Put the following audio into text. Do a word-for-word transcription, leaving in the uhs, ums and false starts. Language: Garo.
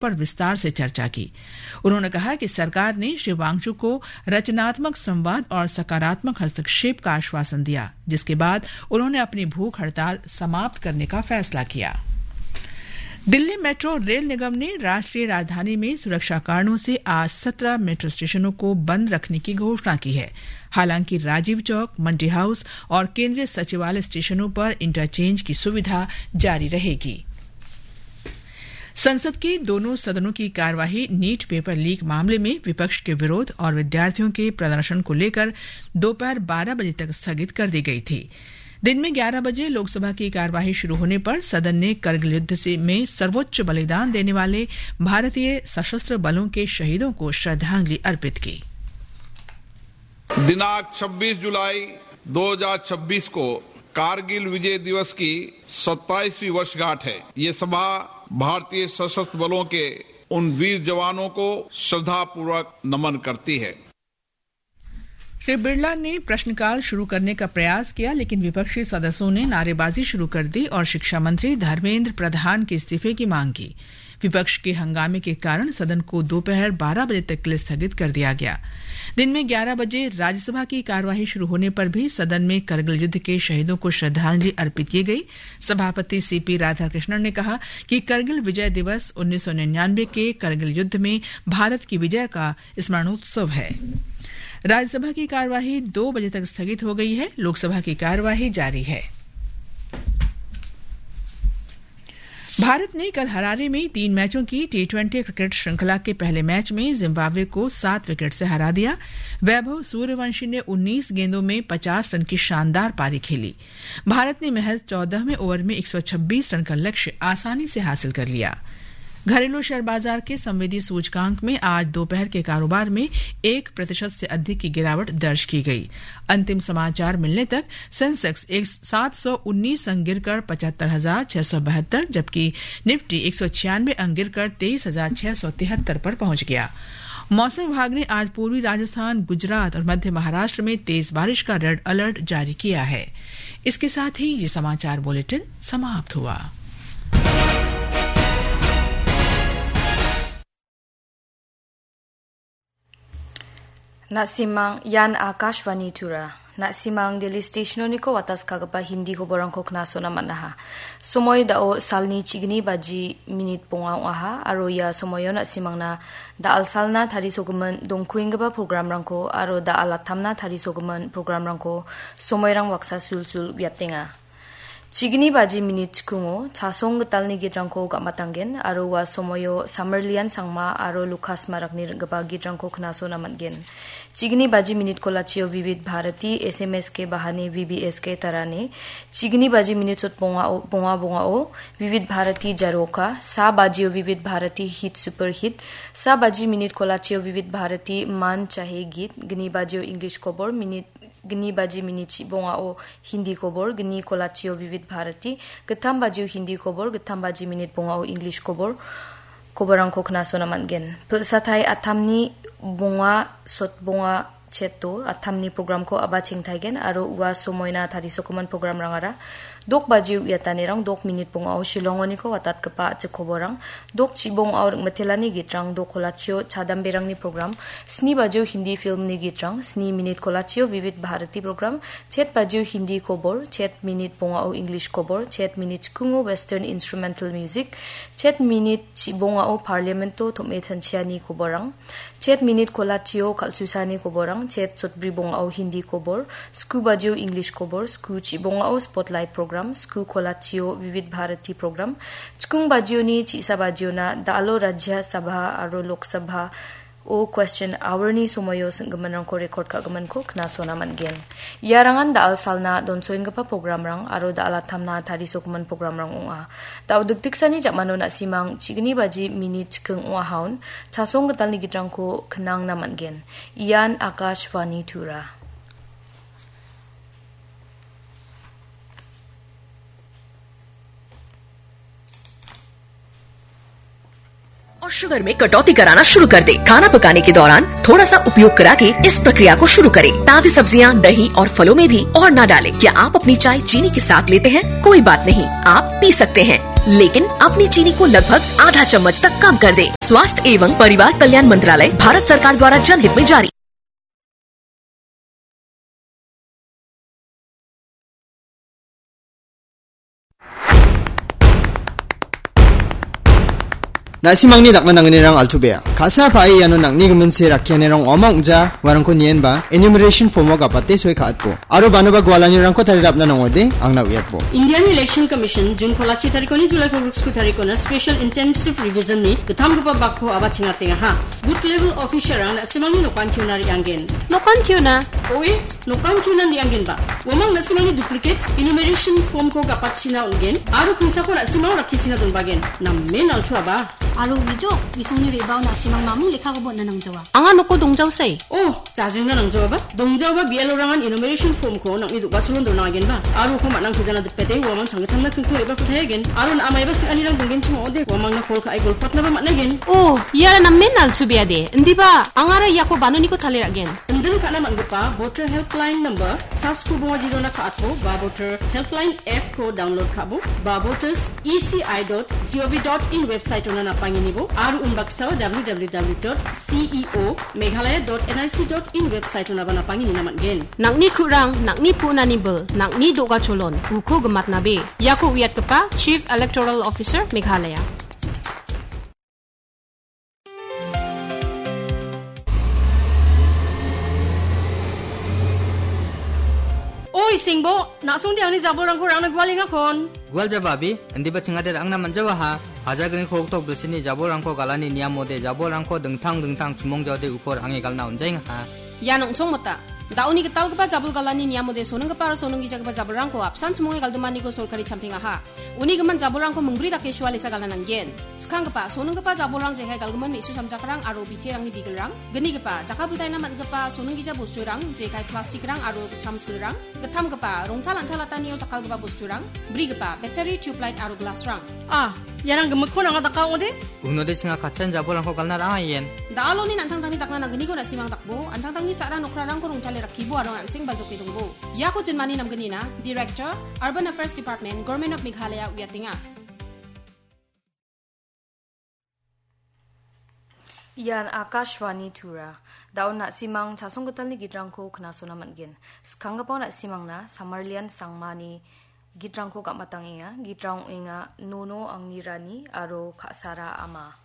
पर विस्तार से चर्चा की। उन्होंने कहा कि सरकार ने श्री वांगचुक को रचनात्मक संवाद और सकारात्मक हस्तक्षेप का आश्वासन दिया, जिसके बाद उन्होंने अपनी भूख हड़ताल समाप्त करने का फैसला किया। दिल्ली मेट्रो रेल निगम ने राष्ट्रीय राजधानी में सुरक्षा कारणों से आज सत्रह मेट्रो स्टेशनों को बंद रखने की घोषणा की है। हालांकि राजीव चौक, मंडी हाउस और केंद्रीय सचिवालय स्टेशनों पर इंटरचेंज की सुविधा जारी रहेगी। संसद के दोनों सदनों की कार्यवाही नीट पेपर लीक मामले में विपक्ष के विरोध और विद्यार्थियों के प्रदर्शन को लेकर दोपहर बारह बजे तक स्थगित कर दी गई थी। दिन में ग्यारह बजे लोकसभा की कार्यवाही शुरू होने पर सदन ने करगिल युद्ध से, में सर्वोच्च बलिदान देने वाले भारतीय सशस्त्र बलों के शहीदों को श्रद्धांजलि अर्पित की। दिनांक छब्बीस जुलाई दो हज़ार छब्बीस को कारगिल विजय दिवस की सत्ताईसवीं वर्षगांठ है। ये सभा भारतीय सशस्त्र बलों के उन वीर जवानों को श्रद्धापूर्वक नमन करती है। श्री बिरला ने प्रश्नकाल शुरू करने का प्रयास किया, लेकिन विपक्षी सदस्यों ने नारेबाजी शुरू कर दी और शिक्षा मंत्री धर्मेंद्र प्रधान के इस्तीफे की मांग की। विपक्ष के हंगामे के कारण सदन को दोपहर बारह बजे तक के लिए स्थगित कर दिया गया। दिन में ग्यारह बजे राज्यसभा की कार्यवाही शुरू होने पर भी सदन में करगिल युद्ध के शहीदों को श्रद्धांजलि अर्पित की गई। सभापति सीपी राधाकृष्णन ने कहा कि करगिल विजय दिवस उन्नीस सौ निन्यानवे के करगिल युद्ध में भारत की विजय का स्मरणोत्सव है। राज्यसभा की कार्यवाही दो बजे तक स्थगित हो गई है। लोकसभा की कार्यवाही जारी है। भारत ने कल हरारे में तीन मैचों की टी ट्वेंटी क्रिकेट श्रृंखला के पहले मैच में जिम्बाब्वे को सात विकेट से हरा दिया। वैभव सूर्यवंशी ने उन्नीस गेंदों में पचास रन की शानदार पारी खेली। भारत ने महज चौदहवें ओवर में एक सौ छब्बीस रन का लक्ष्य आसानी से हासिल कर लिया। घरेलू शेयर बाजार के संवेदी सूचकांक में आज दोपहर के कारोबार में एक प्रतिशत से अधिक की गिरावट दर्ज की गई। अंतिम समाचार मिलने तक सेंसेक्स एक, सात सौ उन्नीस अंक गिरकर पचहत्तर हजार छह सौ बहत्तर, जबकि निफ्टी एक सौ छियानवे अंक गिरकर तेईस हजार छह सौ तिहत्तर पर पहुंच गया। मौसम विभाग ने आज पूर्वी राजस्थान, गुजरात और मध्य महाराष्ट्र में तेज बारिश का रेड अलर्ट जारी किया है। इसके साथ ही ये समाचार बुलेटिन समाप्त हुआ। Na·simang ian Akashvani Tura. Na·simang Delhi Station-oniko watas kagipa Hindi koborangko knasona man·aha. Somoi da·o salni chigni baji minit bonga ong·aha, aro ia somoio na·simangna da·al salna tarisogimin dongkuenggipa programrangko aro da·al atamna tarisogimin programrangko somoirang baksa sulsul uiatenga. Chigni baji minit chikungo chasong gitalni gitrangko gamatanggen aro ua somoio Samarlian Sangma aro Lukas Marakni ring·gipa gitrangko knasona man·gen. Chigni baji minit kolachio Vivid Bharati, S M S K Bahani, V B S K Tarani. Chigni baji minit sot bongao, bonga bongao, Vivid Bharati Jaroka. Sa bajio Vivid Bharati Hit Super Hit. Sa baji minit kolachio Vivid Bharati Man Chahe Geet. Gni bajio English kobor, minit, gni baji minit chi bongao Hindi kobor, gni kolachio Vivid Bharati, gittam bajio Hindi kobor, gittam baji minit bongao English kobor, koborangko knasona man·gen. Pilsatai atamni bonga, sot bonga cheto, atamni programko aba chengtaigen, aro ua somoina tarisokoman programrangara, dok bajio uiatanirang, dok minit bongao Shillongoniko watatgipa a·chik koborang, dok chibongao ring·mitelani gitrang, dok kolachio chadamberangni program, sni bajio Hindi filmni gitrang, sni minit kolachio Vivid Bharati program, chet bajio Hindi kobor, chet minit bongao English kobor, chet minit chikungo Western Instrumental Music, chet minit chibongao Parliamento tom·e tanchiani koborang, chet minit kolachio kal·susani koborang, chet sotbri bongao Hindi kobor, sku bajio English kobor, sku chibongao Spotlight program, sku kolachio Vivid Bharati program, chikung bajioni chisa bajiona da·alo Rajya Sabha aro Lok Sabha o question hour-ni somoio sing·giminrangko record ka·giminko knasona man·gen. Iarangan da·al salna donsoenggipa programrang aro da·al atamna tarisogimin programrang ong·a. Da·o dikdiksani jamano na·simang chigni baji minit chiking ong·ahaon chasong gitalni gitrangko knangna man·gen. Ian Akashvani Tura. और शुगर में कटौती कराना शुरू कर दे। खाना पकाने के दौरान थोड़ा सा उपयोग करा के इस प्रक्रिया को शुरू करें। ताजी सब्जियां, दही और फलों में भी और ना डालें। क्या आप अपनी चाय चीनी के साथ लेते हैं? कोई बात नहीं, आप पी सकते हैं। लेकिन अपनी चीनी को लगभग आधा चम्मच तक कम कर दे। स्वास्थ्य एवं परिवार कल्याण मंत्रालय, भारत सरकार द्वारा जनहित में जारी। Na·simangni dakna nangnirang altu bea. Ka·sa pa·e iano nang·ni giminse rakkianirang ong·a ong·ja uarangko nienba enumeration form-o gapate soi ka·atbo. Aro banoba gualanirangko tarirapna nangode angna uiatbo. Indian Election Commission June kolachi tarikoni July kolgriksku tarikona Special Intensive Revision-ni gittamgipa bakko aba chingatengaha. Booth level officer-rang na·simangni nokan tiuna re·anggen. Nokan tiuna? Oe, nokan tiuna re·anggenba. Uamang na·simangni duplicate enumeration form-ko gapatchina ong·gen, aro kingsako na·simang rakkichina donbagen. Namen altuaba. Aro wijok, gisongni re·bao na·simang mamung lekkakoba on·na nangjawa. Anga noko dongjaosai. Oh, jajingna nangjaoaba. Dongjaoaba B L O-rangan enumeration form-ko nang·ni do·gacholon dona agenba. Aro uko man·ang pejana dipete uamang changgittamna kingko re·bako tayagen. Aro na·a maiba sing·anirang donggenchim ong·ode, uamangna call ka·e golpatnaba man·agen. Oh, iara namen altubeade. Indiba, angara iako banoniko tale ra·gen. Indin ka·na man·gipa Voter Helpline number, sasku bonga jirona ka·atbo, ba Voter Helpline app-ko download ka·bo, ba voters E C I dot G O V dot in website-ona napanginibo, aro unbaksao W W W dot C E O Meghalaya dot N I C dot in website-onaba napanginina man·gen. Nang·ni ku·rang, nang·ni pu·nani bil, nang·ni do·gacholon, uko gimatnabe. Iako uiatgipa Chief Electoral Officer Meghalaya. Oi, Singbo, na·songde angni jabolrangko rangna gualengakon. Gual jaba, abi, indiba chingade ra·angna man·jawaha. Hajagriko hoktok bilsini jabolrangko galani niamode jabolrangko dingtang dingtang chimongjaode uko ra·ange galna on·jaengaha. Ian ong·chongmota. Da·oni gitalgipa jabol galani niamode soninggipa aro soninggijagipa jabolrangko apsan chimonge galdimaniko sorkari champengaha. Uni gimin jabolrangko mingbri dake sualesa galna nanggen. Skanggipa, soninggipa jabolrang jekai galgimin me·su samjakrang aro biterangni bigilrang. Gnigipa, jakkalbiltaina man·gipa soninggija bosturang, jekai plastikrang aro gitcham silrang. Gittamgipa, rongtal an·talatanio jakkalgipa bosturang. Brigipa, battery, tubelight aro glassrang. Ah, iarang gimikkon anga daka ong·ode? Unode chinga katchan jabolrangko galna ra·angaien. Da·aloni an·tangtangni dakna nanggniko na·simang dakbo, an·tangtangni sa·ra nokrarangko rongtale rakkibo aro an·seng baljoke dongbo. Iako jinmani namgnina, Director, Urban Affairs Department, Government of Meghalaya uiatenga. Ian Akashvani Tura. Da·o na·simang chasonggitalni gitrangko knasona man·gen. Skanggipa na·simangna Samarlian Sangmani gitrangko gam·atangenga. Gitrang ong·enga Nono Angni Rani aro Ka·sara Ama.